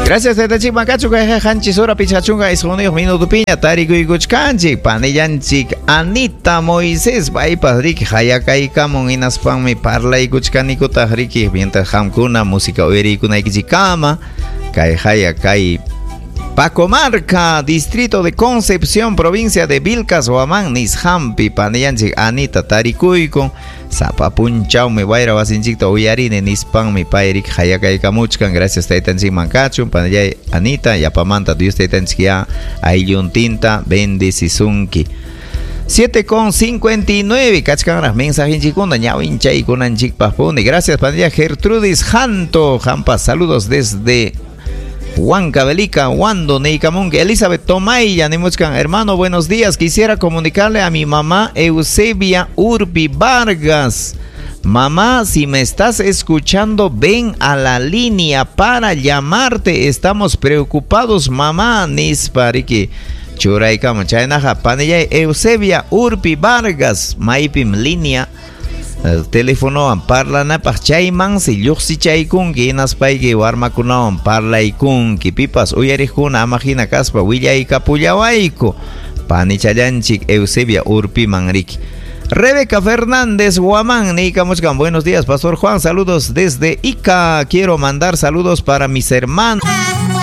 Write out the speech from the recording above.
Gracias taytanchik makachu kayqa qanchis hora 59 minutopiña tarikuykuchkanchik panillanchik Anita Moisés paypas riki hayakaykamun hinaspanmi parlaykuchkanikutaq riki mientras qamkuna música uyariykunaykichikkama kay haya kay Pacomarca, distrito de Concepción, provincia de Vilcas, Huamán, nisqanpi panillanchik Anita tarikuykun. Sapa punchawmi wayra wasinchikta uyarini nispanmi pay riki hayakaykamuchkan. Gracias taytanchikman kachun panillay Anita, yapamanta Dios taytanchik ya aylluntinta bendecisunki. 7:59 kachkanraq mensajinchikkuna ñawinchaykunanchikpaqpuni. Gracias panilla Gertrudis Janto, Jampa, saludos desde Huancavelica, Huando, Neykamunki, Elizabeth Tomaya, nimuchkan, hermano, buenos días. Quisiera comunicarle a mi mamá Eusebia Urpi Vargas. Mamá, si me estás escuchando, ven a la línea para llamarte. Estamos preocupados, mamá. Nispa riki. Churaykamun. Chaynaqa, panillay Eusebia Urpi Vargas, maypim línea telefonowan parlanapaq chaymansi lluqsichaykunki hinaspayki warmakunawan parlaykunki pipas uyariqkuna ama hina kaspa willaykapullawayku panichallanchik Eusebia Urpiman riki. Rebeca Fernández Guamán, niykamuchkan, buenos días, Pastor Juan, saludos desde Ica. Quiero mandar saludos para mis hermanos.